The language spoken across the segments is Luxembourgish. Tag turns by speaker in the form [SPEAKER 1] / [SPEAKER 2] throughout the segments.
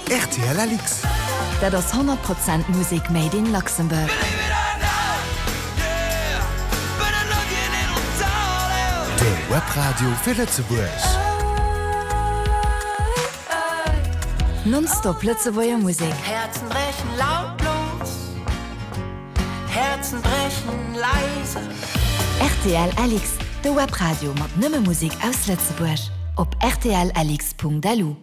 [SPEAKER 1] Rtl LX.
[SPEAKER 2] Dat ass 100 Prozent Musek made in Luxembourg.
[SPEAKER 1] De Webradio fir Lëtzebuerg.
[SPEAKER 2] Non-stop Lëtzebuerger Musek.
[SPEAKER 3] Herzen brechen lautlos, Herzen brechen leise.
[SPEAKER 2] Rtl LX, de Webradio mat nëmme Musek aus Lëtzebuerg. Op rtlx.lu.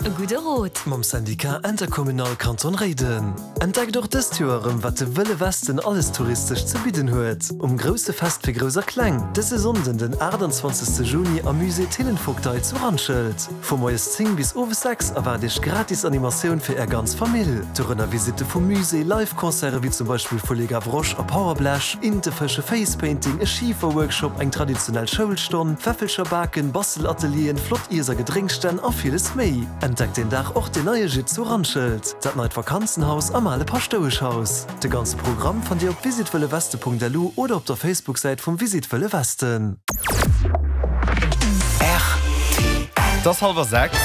[SPEAKER 2] E gudde Rot!
[SPEAKER 4] Mam Syndicat Intercommunal Kanton Réiden. Entdeckt och dëst Joer erëm wat de Wëlle Westen alles touristesch ze bidden huet. Um grousse Fest fir Grouss a Kleng, dëse Sonnden den 28 Juni am Musée Thillenvogtei zu Randschelt. Vu moies 10 bis owes 6 erwaart iech gratis Animatioun fir är ganz Famill. Dorënner Visitte vum Musée, Live-Concerte wéi zum Beispill vu Les Gavroches a Powerblech, Intefësche, Facepainting, e Schifer-Workshop, eng traditionell Schoulstonn, Pfäffelcher baken, Bastelatelieren, flott Iess a Gedrénksstänn a villes méi. Entdeckt deen Dag och den neie Gîte zu Randschelt, dat neit Vakanzenhaus am ale Paschtoueschhaus. De ganze Programm fannt Dir op visitwëlleweste.lu oder op der Facebook-Säit vum Visit Wëlle Westen.
[SPEAKER 5] Et ass hallwer 6.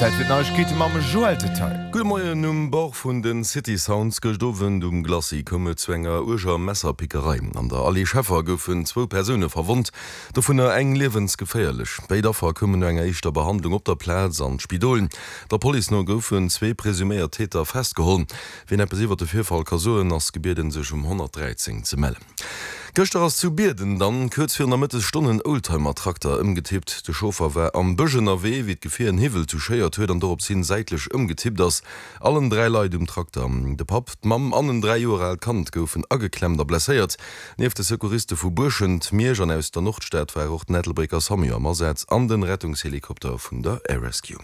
[SPEAKER 5] Zäit fir d'Neiegkeete mam Joël Detail.
[SPEAKER 6] Gudde Moien. Um Bord vun de City Sounds gëscht Owend um Glacis koum et zu enger uerger Messerpickerei. An der Allée Scheffer goufen zwou Persoune verwonnt, dovunner eng liewensgeféierlech. Béid Affer koumen no enger éischter Behandlung op der Plaz an d'Spidol. Der Police no goufen zwee presuméiert Täter festgeholl. Wien eppes iwwert de Virfall ka soen, ass gebieden sech um 113 ze mellen. Gëschter ass zu Bierden dann kuerz virun der Mëttesstonn en Oldtimer-Trakter ëmgetippt. De Chauffer war am Bësch ënnerwee, wéi d'Gefier en Hiwwel touchéiert huet an dorops hin säitlech ëmgetippt ass. Allen 3 Leit um Trakter, de Papp, d'Mamm an en 3 Joer aalt Kand, goufen ageklemmt a blesséiert. Nieft de Secouriste vu Buerschent, Miersch an aus der Nordstad war och den Ettelbrécker Samu am Asaz an den Rettungshelikopter vun der Air Rescue.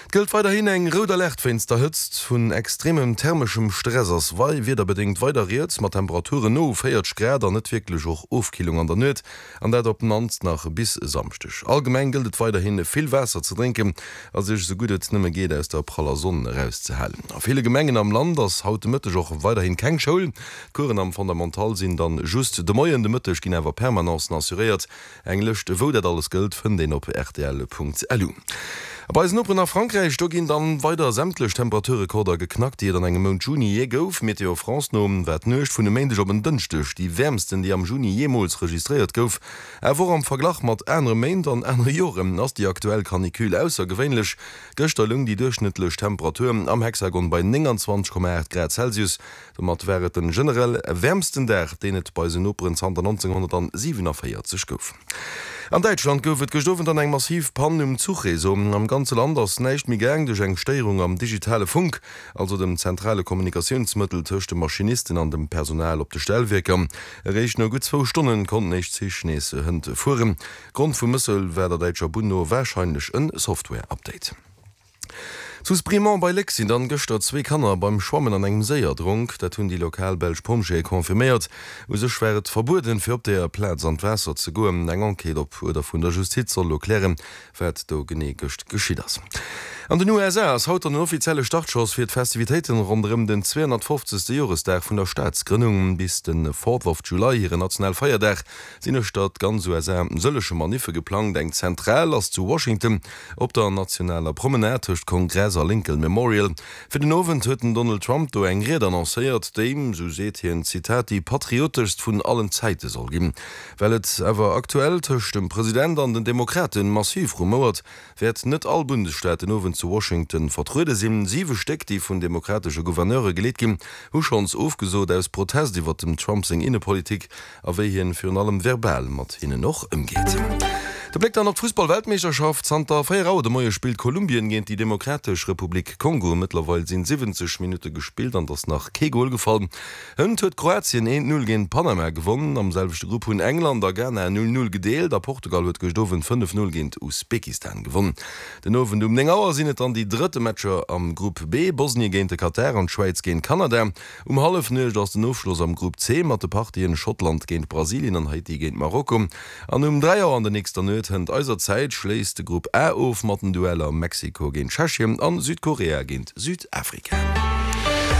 [SPEAKER 6] Et gëllt weiderhin eng rout Alerte wéinst der Hëtzt. Vun extremem thermeschem Stress ass wei wiederbedéngt weider rieds, mat Temperaturen no u 40 Grad an net wierklech och Ofkillung an der Nuet, an dat op d'mannst nach bis e Samschdeg. Allgemeng gëllt et weiderhin, vill Waasser ze drénken a sech esou gutt et nëmme geet aus der praller Sonn erauszehalen. A ville Gemengen am Land ass haut de Mëtteg och weiderhin keng Schoul. D'Coursen am Fondamental sinn dann just de Moien, de Mëtteg ginn awer Permanencen assuréiert. Eng Lëscht wou dat alles gëllt fënnt een op rtl.lu. A bei eisen Noperen a Frankräich, do ginn dann weider sämtlech Temperaturrekorder geknackt, déi et an engem Mount Juni jee gouf. Météo France no war d'Nuecht vun e Méindeg op en Dënschdeg déi wäermsten, déi am Juni jeemools registréiert gouf. Awer och am Verglach mat anere Méint an anere Joren ass déi aktuell Canicule aussergewéinlech. Gëschter loung déi duerchschnëttlech Temperatur am Hexagon bei 29,8 Grad Celsius. Domat war et den generell wäermsten Dag, deen et bei eisen Noperen zanter 1947 gouf. An Däitschland gouf et gëscht Owend dann eng massiv Pann um Zuchreseau. Am ganze Land ass näischt méi gaang duerch eng Stéierung am digitale Funk, also dem zentrale Kommunikatiounsmëttel tëscht de Maschinisten an dem Personal op de Stellwierker. Eréischt no gutt zwou Stonnen konnten éischt Zich nees hënt fueren. Grond vum Mëssel war der däitscher Bunn no warscheinlech en Software-Update. Zu Sprimont bei Léck sinn dann gëschter zwee Kanner beim Schwammen an engem Séi erdronk. Dat hunn déi lokal belsch Pompjeeë confirméiert. U sech war et verbueden, fir op deeër Plaz an d'Waasser ze goen. Eng Enquête op Uerder vun der Justiz soll elo klären, wat do genee gëscht geschitt ass. An den USA ass haut dann den offizielle Startschoss fir d'Festivitéiten ronderëm den 250. Joresdag vun der Staatsgrënnung. Bis de Fourth of July, hire Nationalfeierdag, sinn uechter d'ganz USA sëllege Maniffe geplangt. Eng zentral ass zu Washington. Op der nationaler Promenade tëscht Kongress a Lincoln Memorial. Fir den Owend huet den Donald Trump do eng Ried annoncéiert, déi, sou seet hien, Zitat, déi patrioteschst vun allen Zäite soll ginn. Well et awer aktuell tëscht dem President an den Demokrate massiv rumouert, wäert net all Bundesstaat den Owend zu Washington vertruede sinn. Siwe Stéck, déi vun demokratesche Gouverneure geleet ginn, hu schonns ofgesot, aus Protest iwwer dem Trump seng Innepolitik. A wéi hien virun allem verbal mat hinnen och ëmgeet. De Bléck dann op d'Fussball-Weltmeeschterschaft, Zanter 4 Auer de Moie spillt Kolumbien géint déi Demokratesch Republik Kongo. Mëttlerweil sinn 70 Minutte gespillt an et ass nach kee Gol gefall. Hënt huet Kroatien 1, 0 géint Panama gewonn. Am selwechte Grupp hunn England a Ghana 0, 0 gedeelt a Portugal huet gëscht Owend 5, 0 géint Usbekistan gewonn. Den Owend um 9 Auer sinn et dann déi drëtte Matcher am Grupp B, Bosnie géint de Katar an d'Schwäiz géint Kanada. Um Hallefnuecht ass den Ofschloss am Grupp C mat de Partien Schottland géint Brasilien an Haiti géint Marokko. An um 3 Auer an der nächster Nuet hënt eiser Zäit schléisst de Grupp A of mat den Dueller Mexiko géint Tschechien an Südkorea géint Südafrika.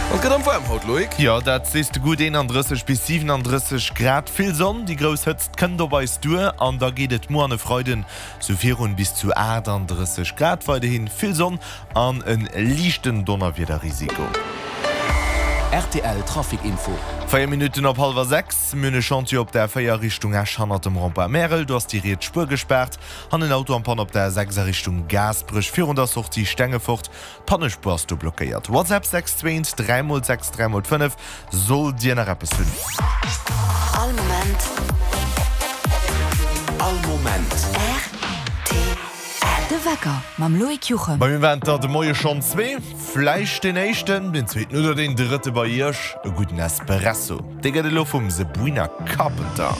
[SPEAKER 6] An et gëtt erëm waarm haut, Loïc.
[SPEAKER 5] Jo, dat sees de gutt, 31 bis 37 Grad, vill Sonn, déi grouss Hëtzt kënnt op eis duer an da geet et muer an e Freiden sou virun, bis zu 38 Grad, weiderhi vill Sonn an e liichten Donnerwiederrisiko.
[SPEAKER 1] Rtl Trafic Info.
[SPEAKER 5] 4 Minutten op hallwer 6, Mir hunn e Chantier op der A4 Richtung Esch hannert dem Rond-point Märel, do ass déi riets Spuer gespaart. An en Auto am Panne op der A6 a Richtung Gaasperech virun der Sortie Stengefort. D'Pannespuer ass do blockéiert. WhatsApp 6 21 3 x 6 3 x 5 sollt Dir nach eppes hunn.
[SPEAKER 2] All Moment.
[SPEAKER 1] All Moment.
[SPEAKER 2] Rtl. De Wecker mam Loïc Juchem.
[SPEAKER 5] Bei mir waren et der de Moie schonn zwee. Vläicht deen éischten, deen zweeten oder deen drëtte bei Iech. E gudden Espresso, dee gëtt elo vum Sabrina Carpenter.